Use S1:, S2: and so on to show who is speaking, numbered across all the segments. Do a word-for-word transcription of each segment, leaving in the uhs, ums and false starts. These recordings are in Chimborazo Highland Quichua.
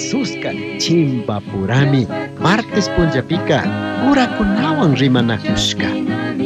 S1: Jesusca chimbapurami martes punllapika curakunawan rimanakushka.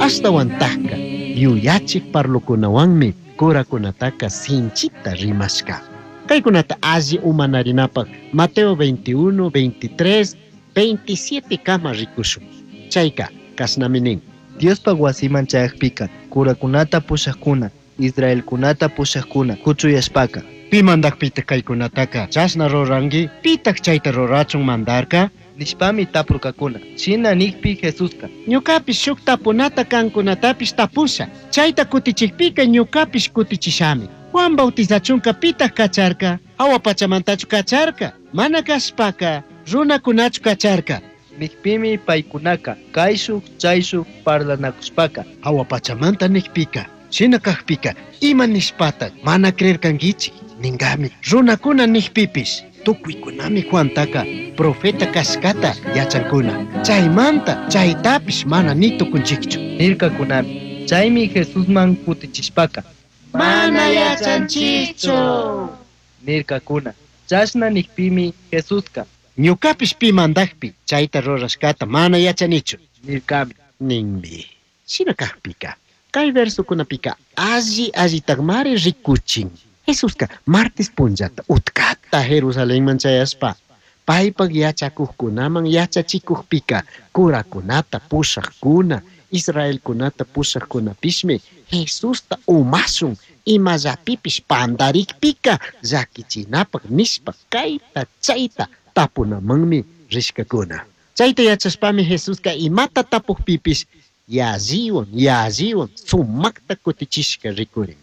S1: Ashtawantajka yuyachik parlokunawanmi curakunataka sinchita rimashka. Kaykunata alli umanarinapaq Mateo veintiuno, veintitrés, veintisiete kama rikushun. Chayka kashnami nin.
S2: Diospaj wasiman chayakpika curakunata pushakuna, Israelkunata pushakuna kuchuyashpaka.
S1: Pi mandakpita kaykunataka chashna ruranki, pitaq chayta rurachun mandarka?
S2: Nishpami tapurkakuna. Shina nikpi Jesuska.
S1: Ñukapish shuk tapunata kankunatapish tapusha. Chayta kutichikpika ñukapish kutichishami. Juan Bautizachunka pitaq kacharka? Hawa pachamantachu kacharka? Mana kashpaka runakunachu kacharka?
S2: Nikpimi paykunaka kayshuk chayshuk parlanakushpaka.
S1: Hawa pachamanta nikpika, shina kakpika, ima nishpata mana creerkankichik? Ningami, runakuna nikpipish, tukuykunami Juantaka profeta kashkata yachankuna. Chaymanta chaytapish mana ni tukunchikchu.
S2: Nirkakunami. Chaymi Jesusman kutichishpaka.
S1: Mana yachanchikchu.
S2: Nirkakuna. Chashna nikpimi Jesuska.
S1: Ñukapish pi mandakpi chayta rurashkata mana yachanichu.
S2: Nirkami.
S1: Ninmi. Shina kakpika, kay versokunapika alli allitakmari rikuchin. Jesuska martes punllata utkata Jerusalenman chayashpa paypak yachakukkunaman yachachikukpika curakunata pushakuna, Israelkunata pushakkunapishmi Jesusta umashun imallapipish pandarikpika llakichinapak nishpa kayta chayta tapunamanmi rishkakuna. Chayta yachashpami Jesuska imata tapukpipish yalliwan yalliwan sumakta kutichishka rikurin.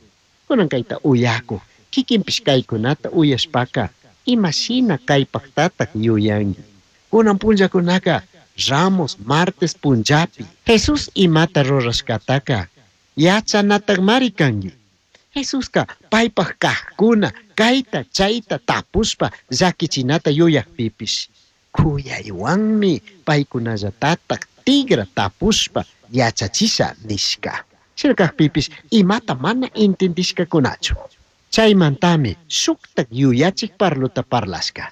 S1: Kunan kayta uyakuq kikinpish kaykunata uyashpaka imashina kaypaktatak yuyanki. Kunan punllakunaka Ramos martes punllapi Jesús imata rurashkataka yachanatakmari kanki. Jesuska paypak kajkuna kayta chayta tapushpa llakichinata yuyakpipish kuyaywanmi paykunallatatak tigra tapushpa yachachisha nishka. Shina kakpipish imata mana entendishkakunachu. Chaymantami shuktak yuyachik parlota parlashka.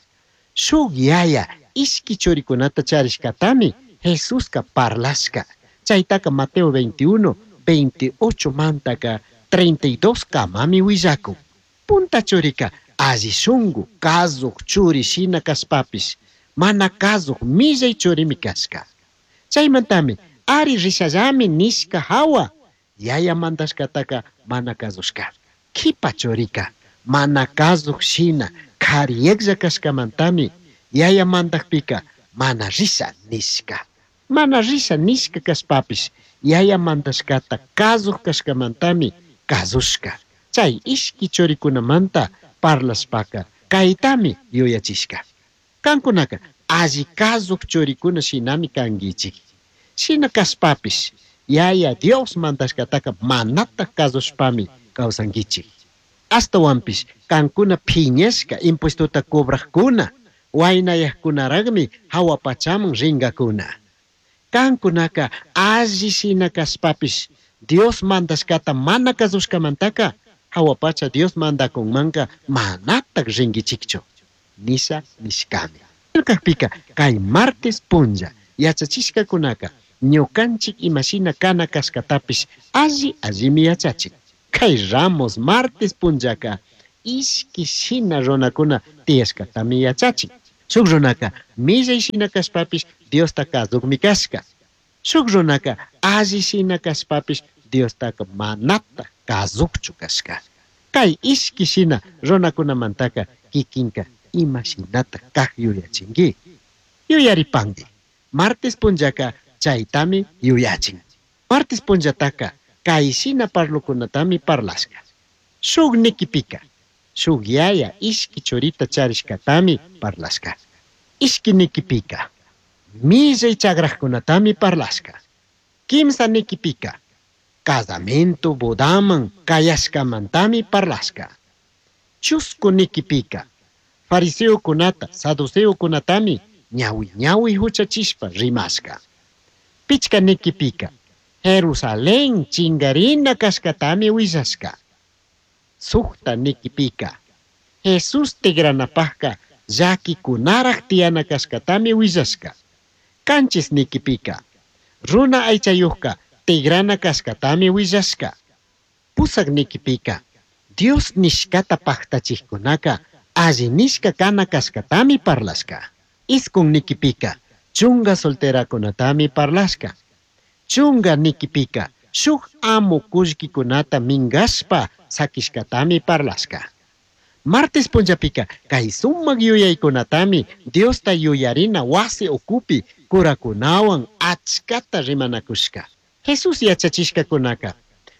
S1: Shuk yaya ishki churikunata charishkatami Jesuska parlashka. Chaytaka Mateo veintiuno, veintiocho mantaka treinta y dos kamami willakun. Punta churika alli shunku kazuk churi shina kashpapish mana kazuk millay churimi kashka. Chaymantami ari rishallami nishka hawa yaya mandashkataka mana kazushka. Kipa churika mana kazuk shina kariyeklla kashkamantami yaya mandakpika mana risha nishka. Mana risha nishka kashpapish yaya mandashkata kazuk kashkamantami kazushka. Chay ishki churikunamanta parlashpaka kaytami yuyachishka. Kankunaka alli kazuk churikuna shinami kankichik. Shina kashpapish yaya Dios mandashkataka manata kazushpami kawsankichik. Ashtawanpish kankuna phiñashka impuestota cobrajkuna waynayajkunaraqmi hawa pachaman rinkakuna. Kankunaka alli shina kashpapish Dios mandashkata mana kazushkamantaka hawa pacha Dios mandakunmanka manatak rinkichikchu. Nisha nishkami. Kakpika kay martes punlla yachachishkakunaka ñukanchik imashina kana kashkatapish alli allimi yachachin. Kay Ramos martes punllaka ishki shina runakuna tiyashkatami yachachin. Shuk runaka millay shina kashpapish Diosta kazukmi kashka. Shuk runaka alli shina kashpapish Diostaka manata kazukchu kashka. Kay ishki shina runakunamantaka kikinka ima shinata kak yuyachinki. Yuyaripanki. Martes punllaka chaytami yuyachin. Martes punllataka kay shina parlokunatami parlashka. Shuk nikipika, shuk yaya ishki churita charishkatami parlashka. Ishki nikipika, millay chagrajkunatami parlashka. Kimsa nikipika, casamiento bodaman kayashkamantami parlashka. Chusku nikipika, fariseokunata, saduceokunatami ñawi ñawi huchachishpa rimashka. Pichka nikipika, Jerusalén chingarina kashkatami willashka. Sukta nikipika, Jesús tigranapajka llaquikunaraj tiyana cashcatami huillashca. Canchis niquipika, runa aychayujka tigrana cashcatami huillashca. Pusak niquipika, Dios nishcata pajtachijkunaka alli nishca kana cashcatami parlashca. Iskun niquipika, chunga solterakunatami parlashca. Chunga niquipika, shuj amo kullkikunata mingashpa sakishkatami parlashca. Martes punllapika, kay sumak yuyaykunatami Diosta yuyarina wasi ukupi kurakunawan achkata rimanakushka. Jesús yachachishkakunaka,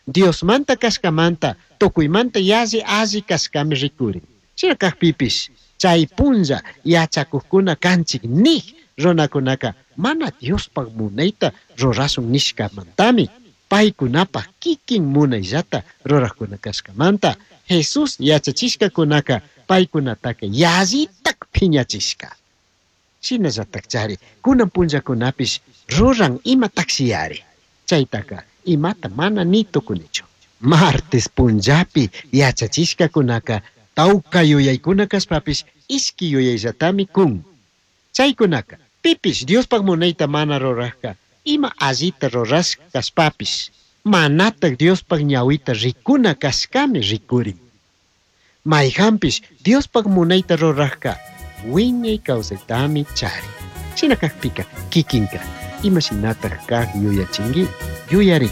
S1: Diosmanta kashkamanta, tukuymanta yalli alli kashkami rikurin. Shina kajpipish, chay punlla yachakujkuna kanchik nij runakunaka mana Diospaj munayta rurashun nishkamantami, paykunapaj kikin munayllata rurajkuna kashkamanta, Jesús yachachishkakunaka paykunataka yallitak phiñachishka. Shinallatak chari, kunan punllakunapish ruran ima taxiyari. Chaytaka imata mana ni tukunichu. Martes punllapi yachachishkakunaka tawka yuyaykuna kashpapish ishki yuyayllatami kun. Chaykunaka pipish Diospaj munayta mana rurajka ima allita rurashka kashpapish manatak Diospaj ñawita rikuna kashkami rikurin. Mayjanpish Diospaj munayta rurajka wiñay kawsaytami charin. Shina kajpika kikinka ima shinatak kaj yuyachinki yuyari.